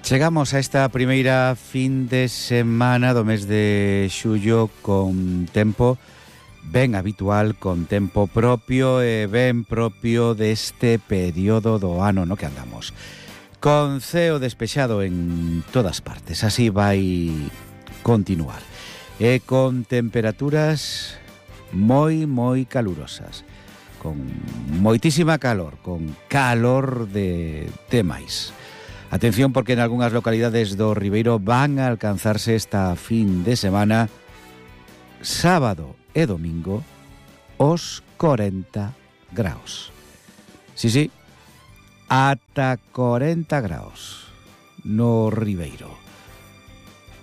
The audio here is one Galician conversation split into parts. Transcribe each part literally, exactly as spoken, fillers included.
Chegamos a esta primeira fin de semana do mes de xullo con tempo ben habitual, con tempo propio e ben propio deste período do ano no que andamos. Con ceo despexado en todas partes, así vai continuar. E con temperaturas moi, moi calurosas, con moitísima calor, con calor de, de máis. Atención porque en algunhas localidades do Ribeiro van a alcanzarse esta fin de semana, sábado e domingo, os corenta graus. Sí, sí, ata corenta graus no Ribeiro.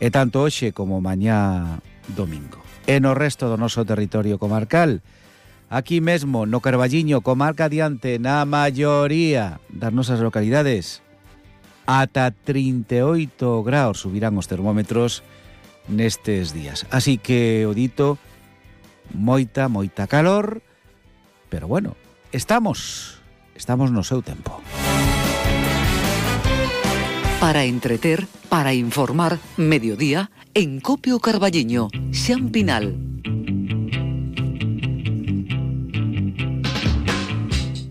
E tanto hoxe como mañá domingo. E no resto do noso territorio comarcal, aquí mesmo no Carballiño, comarca adiante, na maioría das nosas localidades, ata trinta e oito graus subirán os termómetros nestes días. Así que, o dito, moita, moita calor, pero bueno, estamos, estamos no seu tempo. Para entreter, para informar, mediodía, en Copio Carballiño, Xan Pinal.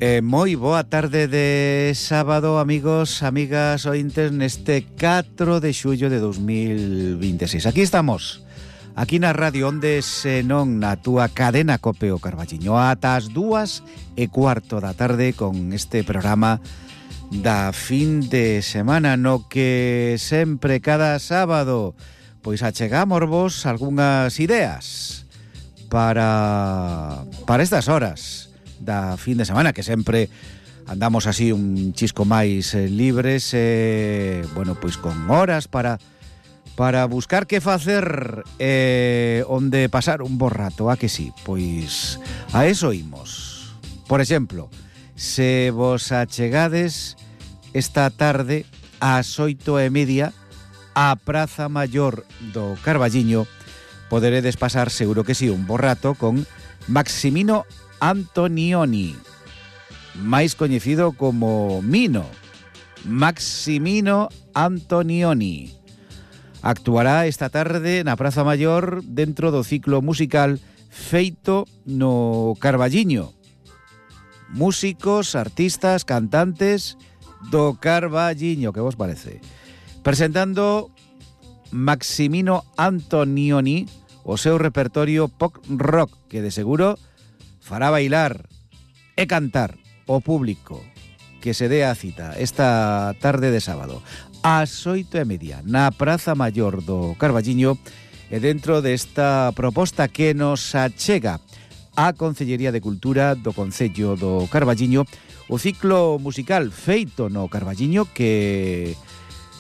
Eh, moi boa tarde de sábado, amigos, amigas, ointes, neste catro de xullo de dos mil veintiséis. Aquí estamos, aquí na Radio Onde, senón na túa cadena Copeo Carballiño, ata as dúas e cuarto da tarde con este programa da fin de semana, no que sempre cada sábado pois achegamos vos algunhas ideas para, para estas horas da fin de semana, que sempre andamos así un chisco máis eh, libres, eh, bueno, pois con horas para para buscar que facer eh, onde pasar un bo rato, a que sí? Pois a eso imos. Por exemplo, se vos achegades esta tarde ás oito e media á Praza Maior do Carballiño, poderedes pasar seguro que sí un bo rato con Maximino Antonioni, máis coñecido como Mino. Maximino Antonioni actuará esta tarde na Praza Maior dentro do ciclo musical feito no Carballiño. Músicos, artistas, cantantes do Carballiño, que vos parece? Presentando Maximino Antonioni o seu repertorio pop rock, que de seguro fará bailar e cantar o público que se dé a cita esta tarde de sábado ás oito e media na Praza Maior do Carballiño, e dentro desta proposta que nos achega a Concellería de Cultura do Concello do Carballiño, o ciclo musical feito no Carballiño que,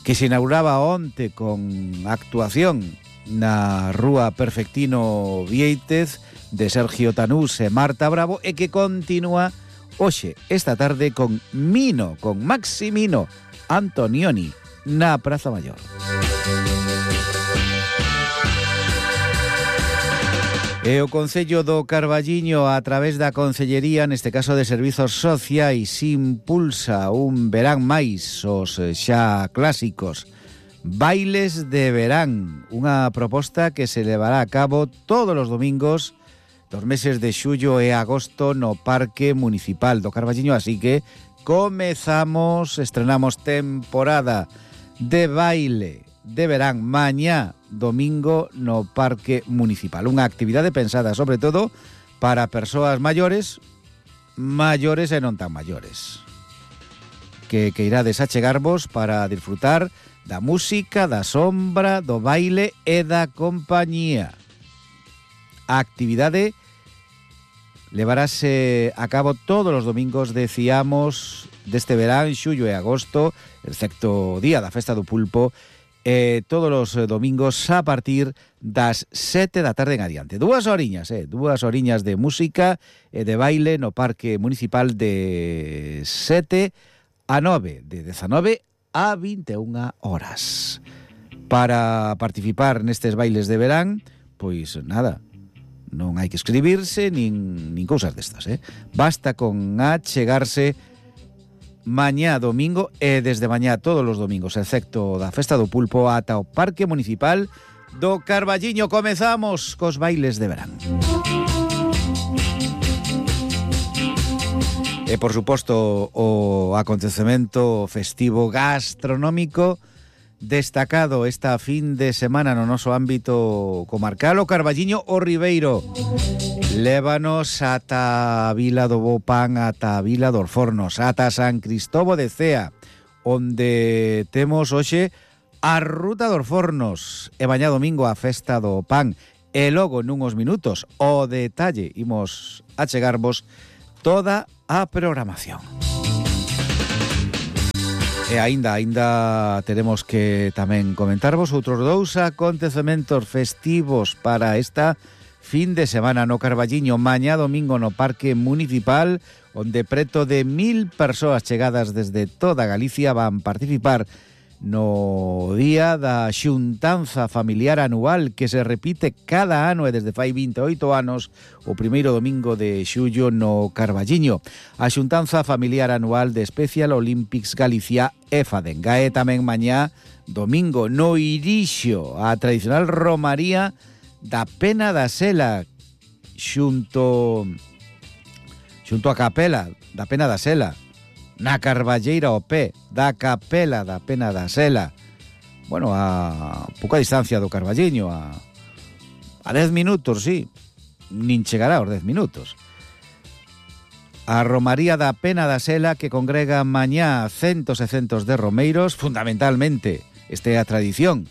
que se inauguraba onte con actuación na Rúa Perfectino Viéitez de Sergio Tanús e Marta Bravo, e que continúa hoxe, esta tarde, con Mino, con Maximino Antonioni na Praza Maior. E o Concello do Carballiño, a través da Concellería, neste caso de Servizos Sociais, impulsa un verán máis os xa clásicos Bailes de Verán, unha proposta que se levará a cabo todos os domingos dos meses de xullo e agosto no Parque Municipal do Carballiño, así que comezamos, estrenamos temporada de baile de verán mañá domingo no Parque Municipal. Unha actividade pensada sobre todo para persoas maiores, maiores e non tan maiores, que, que irades a chegarvos para disfrutar da música, da sombra, do baile e da compañía. A actividade levarase a cabo todos os domingos, decíamos, deste verán, xullo e agosto, excepto o día da Festa do Pulpo, eh, todos os domingos a partir das sete da tarde en adiante. Dúas horiñas, eh, dúas horiñas de música e de baile no Parque Municipal de sete a nove, de dezanove a vinte e unha horas. Para participar nestes bailes de verán, pois nada, non hai que escribirse nin, nin cousas destas, eh? Basta con achegarse mañá domingo e desde mañá todos os domingos, excepto da Festa do Pulpo, ata o Parque Municipal do Carballiño. Comezamos cos bailes de verán. E, por suposto, o acontecemento festivo gastronómico destacado esta fin de semana no noso ámbito comarcal, o Carballiño o Ribeiro. Lévanos ata a Vila do Bo Pan, ata a Vila dos Fornos, ata San Cristobo de Cea, onde temos hoxe a Ruta dos Fornos e mañá domingo a Festa do Pan. E logo nunhos minutos o detalle imos a chegarvos toda a programación. E aínda, aínda teremos que tamén comentarvos outros dous acontecementos festivos para esta fin de semana no Carballiño. Mañá domingo no Parque Municipal, onde preto de mil persoas chegadas desde toda Galicia van participar no día da xuntanza familiar anual que se repite cada ano e desde fai vinte e oito anos, o primeiro domingo de xullo no Carballiño. A xuntanza familiar anual de Special Olympics Galicia e Fadenga. E tamén mañá domingo no Irixo, a tradicional romaría da Pena da Sela xunto xunto a capela da Pena da Sela na Carballeira o pé da capela da Pena da Sela. Bueno, a pouca distancia do Carballiño, a a dez minutos, sí, nin chegará aos dez minutos. A romaría da Pena da Sela que congrega mañá centos e centos de romeiros, fundamentalmente, esta é a tradición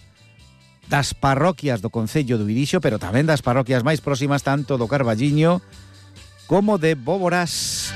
das parroquias do concello do Irixo, pero tamén das parroquias máis próximas tanto do Carballiño como de Boborás.